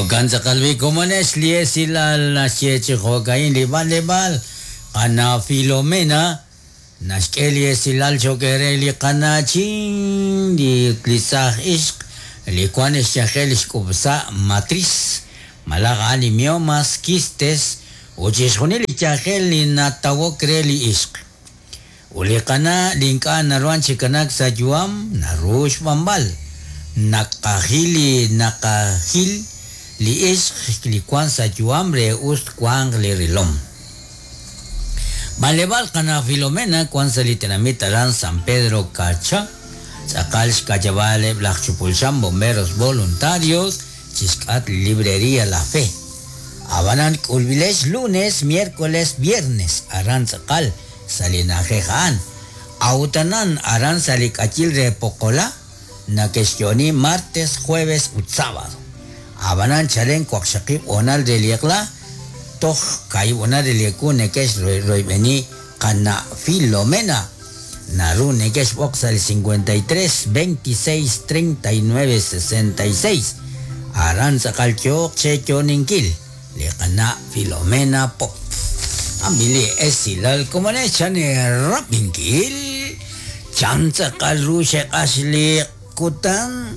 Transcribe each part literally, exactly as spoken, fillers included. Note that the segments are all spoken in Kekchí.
Jo'kan tz'aqal komonex li esilal naxye chi jo'ka'in li b'anleb'aal qana Filomena naxk'e li esilal chokere li qanachin li li saaj ixq li wan xyajel xk'ub'sa matriz malaj a'an li miomas quistes ut chixjunil li yajel li natawok re li ixq ut li qana li ink'a' naruhan chi kanak sa' yu'am naru xb'anb'al naqajil li naqajil li ixq li wan sa' yu'am re us wanq li rilom. B'anleb'aal qana Filomena wan sa' li tenamit aran San Pedro Cacha tz'aqal xka'yab'aal eb' laj Chupulxam Bomberos Voluntarios chixk'at Librería La Fe. Abanan k'ulb'ilex lunes, miércoles, viernes aran tz'aqal sa' li na'ajej a'an. Awtanan aran sa' li k'ayil re Poqola nakexyoni martes, jueves ut sábado. Abanan chalen waqxaqib' onal re li eq'la toj kaib' onal re li ewu nekex royb'eni qana Filomena naru nekex b'oq sa' li cincuenta y tres, veintiséis, treinta y nueve, sesenta y seis aran tz'aqal yooq che yoninkil li qana Filomena Pop. Ambili esilal komonex chan rapinkil chan tz'aqal ru xeq'ax li kutan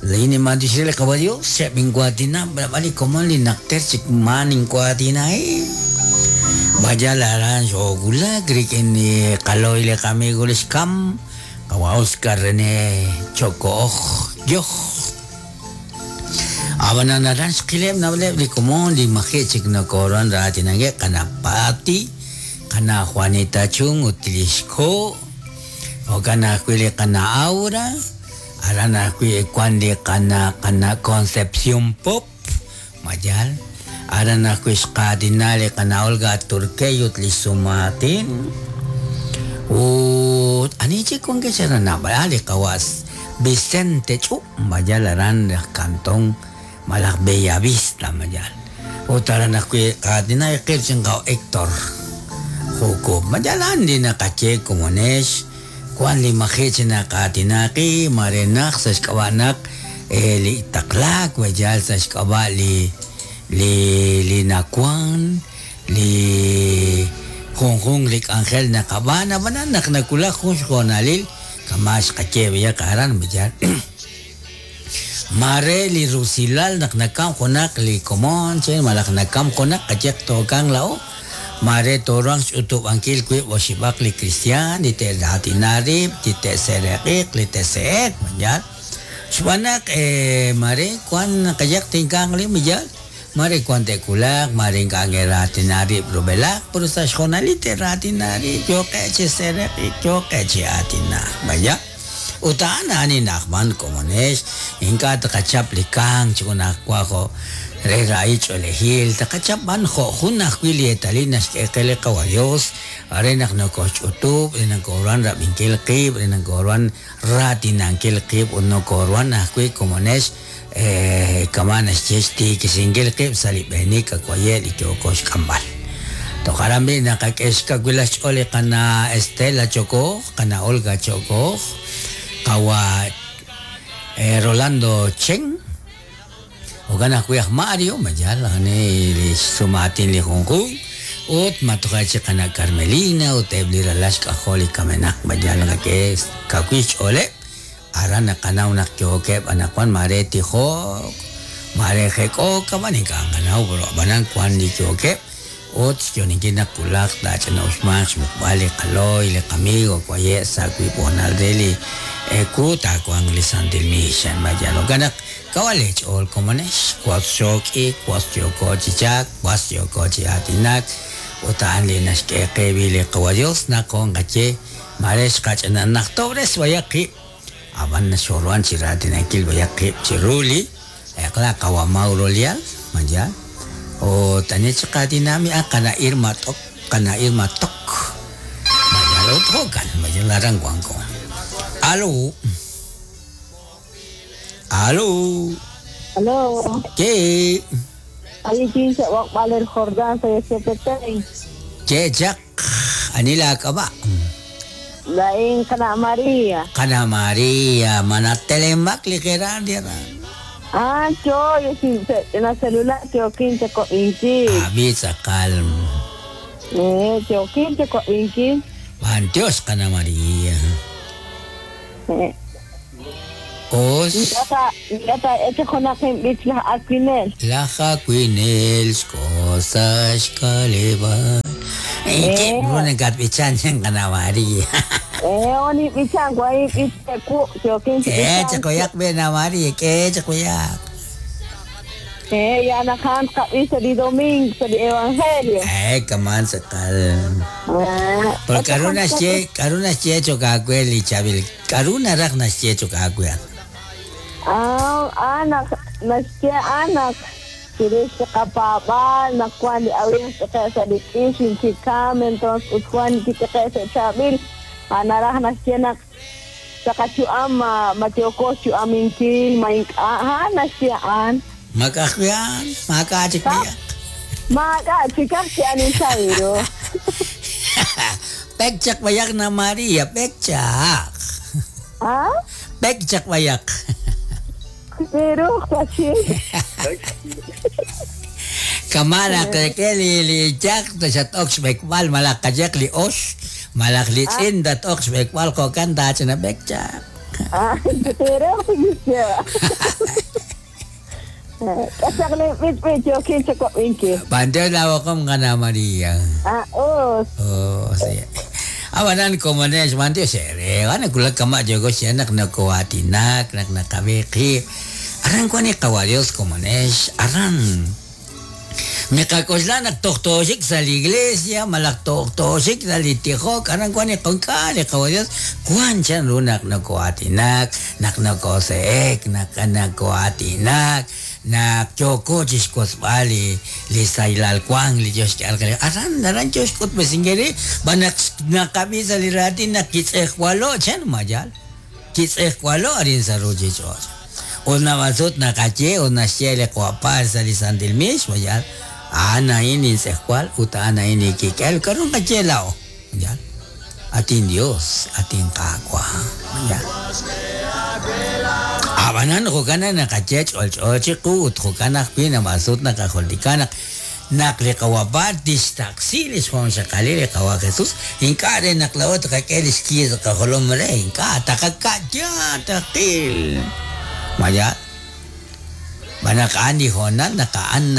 Lini mandishile kabayo, siya bingwatina, bali komon li nakter chik maning kwatina eh. Bajalaran shogula, grikin ni kaloy le kami gulis kam, kawa Oscar Rene Choko yoh. Abananaran shkilem nable li komon li maje chik no koron ratinange kanapati, kana Juanita Chung utilishko, o kana kwili kana Aura. Arana kui kuan li kana kana Concepción Pop mayal arana kui xqatina li kana Olga Turqueyut li sumatin ut ani chi con que será na li kawas Vicente Chu mayal aran cantón malaj Bellavista mayal ut arana kui qatina qirchin qaw Héctor Juco mayal andi na kache komonesh Juan li majichi na katinaki, marenak sa xk'awanak, eh, li taklak, wajal sa xk'awa li, li, li nakwan, li junjun li k'anjel nakabana, banan nak nakulak jun xjonalil, kamax kache biya karan, wajal. Mare li rusilal nak nakam jonak li komon, chen, malak nakam jonak, kachek tokang lao. Mare torang utub angkil kui wasibak li Cristian, li te ratinarib, li te sereqiq, li te seek, mayal. Xwanak eh mare kuan kayak tingkang li mayal. Mare kuan te kulak, mare kang ratinarib rubelak, pero sa xjonali te ratinarib, yo que che sereqiq, yo que che atina, mayal. Utaan ani nakman komonesh, inka takachap li kang chikunak kuajo. Re raich olejil, takachap ban jo junaj wili etalinas que kele kabayos, arenak no koch utub, renan korwan rabinkil qib, renan korwan ratinankil qib, uno korwan ajwi komonesh, eh, kamanas chesti, kisingil qib, salibenik, akwayel, y koch kambal. Tokarambi nakakeshka wilash oli kana Estela Choko, kana Olga Choko, kawa eh, Rolando Chen, Ogana kuyak Mario, mayal, ane li sumatin li junjun, ut matukachi kana Carmelina, ut ebli ralash kajoli kamenak, mayal nga ke kakwich ole, arana kana unak kyokep, anakwan mare tijok, mare jeko, kaman ikanganau, pero banan kwan li kyokep, ut yoninkina kulak, dachana ushmach, mukbali, kaloy, le kamigo, kwaye, sakwi, bonaldeli, ekuta, kwan li santil mishan, mayal, oganak, kawalech ol komonesh, kwas shoki, kwas yoko chichak, kwas yoko chiatinak, utaan li naxk'eqebi li qawayos naqon qache, marex qach'ananaq tobres wayaqi, aban naxorwan chiratinakil wayaqi chiruli, eqla qawamauro lial, mayal, o tanich qatinami a qana irma tok, qana irma tok, mayal othokan, mayal aran guanco. Alo. Aló. Aló. ¿Qué? Ahí dice Valer Jordán, soy C P T. ¿Qué, Jack? Anila acaba. La en Cana María. Cana María, manatelemak ligera dira. Ah, yo, yo sin na celular yo quince ko inki. Abi tz'aqal. Eh, yo quince ko inki. B'antiox qana Maria. Eh. Os. Yata, yata, eche junaq inb'ich laj Aquinel. Laj Aquinel xk'osa xk'aleb'aal. Eh, ru nakatb'ichan chan qana Maria. Eh, oni b'ichan, kwai b'ich ku, yo quince K'e chaqoyaq be na Maria, k'e chaqoyaq. Eh, ya najan qab'ij sa li domingo, sa li evangelio. Eh, kaman tz'aqal. Ah, Pero k'aru naxye, k'aru naxye choq aawe li chaab'il, k'aru naraj naxye choq aawe? Ah, anak, naxye anak. Chirix qapaab'al, naq wan li awin t'iqe' sa li k'ix, inchikam, entonces ut wan kit'iqe' sa chaab'il. Ah, naraj naxye naq taqachu'am ma matioko chu'aminkil, ma ink'a', ha naxye an. Mak'ajwi'an, maak'a' chik b'ayaq. Maak'a' chikaj chi anin sabiru. Pekchaq b'ayaq na Maria, pekchaq. Ah? Pekchaq b'ayaq. Pero, kachi. Kama naq ke li li chaq xat-ok xb'ekb'al malaj qayaq li ox, malaj li tz'in tat-ok xb'ekb'al jo'kan taachana pekchaq. Ah, pero, Kasakli b'ich b'ich yo quince ko inki. B'antiox la b'oqom qana Maria. Ah, os. Oh, sí. Abanan komonex b'antiox ere, wan kulak kama yogo xenak nakoatinak, nak naqab'iqib. Aran kuan qawa Dios komonex, aran. Miqak'oxla naq tojtoxik sa la iglesia, malaj tojtoxik sa li tijok, aran kuan iqonk'a li qawa Dios, kuan chan ru naq nakoatinak, naq nakose'ek, naq nakoatinak, naq yoko chixk'osb'al li li saylal kuan li Dios xk'al qe. Aran, aran yo xk'utb'esinkeri, b'an naq naqab'i sa li raatin naq kitz'ejwalo, chan mayal. Kitz'ejwalo arin sa ruchich'och'. Ut nab'asut naqaye, ut naxye li qwapal sa li Santil Mix, mayal. A'an a'in intz'ejwal, ut a'an a'in ikik'el, k'aru qaye la'o, mayal. Atin Dios, atin Qaawa, mayal. Abanan jo'kan naqaye ch'olch'o chiqu ut jo'kan ajwi' nab'asut naqajultika naq naq li qawapal tixtaqsi li xjunxaqalil li qawa Jesús, ink'a' re naq la'o taqak'e li xkiis qajolom re, ink'a' taqaka'ya taqil. Mayal. B'anaq a'an li hoonal naq a'an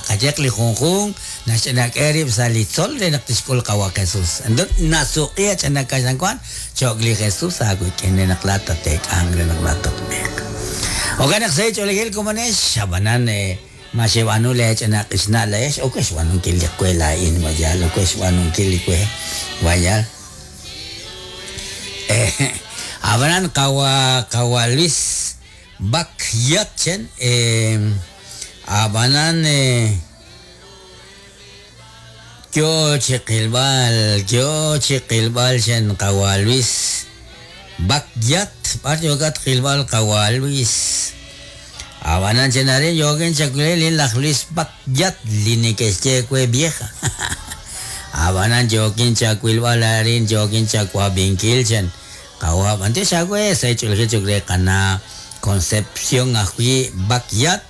qayeq li junjun naxch'anak'e rib' sa li tzol re naq tixk'ul qawa Jesús. Entonces nasuq'ia ch'anakaxankuan choq li Jesús aawik'in re naq laat tateek'anq re naq laat tatb'eeq. Jo'kan naq sa ch'oolejil komonex, abanan ma xeb'aanu le ch'anaq'ixna' la'ex, o ke xb'aanunkil li kwe laa'in mayal, o ke xb'aanunkil li kwe mayal. Eh, abanan qawa qawa Luis Bakyat chen, eh, abanan eh, yo chiqilb'al, yo chiqilb'al chen qawa Luis Bakyat, b'ar yokat qilb'al qawa Luis. Abanan chen arin yogen chakulel laj Luis Bakyat li nekexye kwe vieja. Abanan yokin chakuilb'al arin yokin chakuabinkil chen qawa b'antiox awe sa ch'ulji chukre qana Concepción ajwi Bakyat,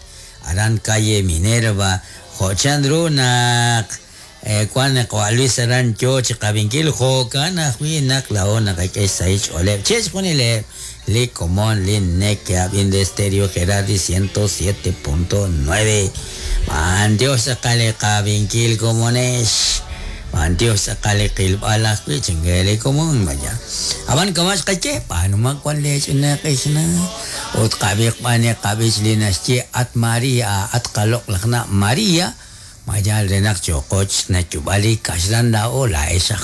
aran calle Minerva, jo'chan ru naq eh, kuan qawa Luis aran yo chiqab'inkil jo'kan ajwi naq la'o naqak'e xsahil ch'ooleb' che xjunileb' li komon li neke'ab'in de Stereo Gerardi ciento siete punto nueve. B'antiox tz'aqal li qab'inkil komonex, b'antiox tz'aqal li qilb'al ajwi' chink'e li komon vaya. Aban kamax qaye, b'aanuma kuan le ch'inaq'ixna, ut qab'iq b'an qab'ich li naxye at Maria, at qaloq lajna Maria, mayal re naq choqoch nachub'al li kaxlan la'o la'ex aj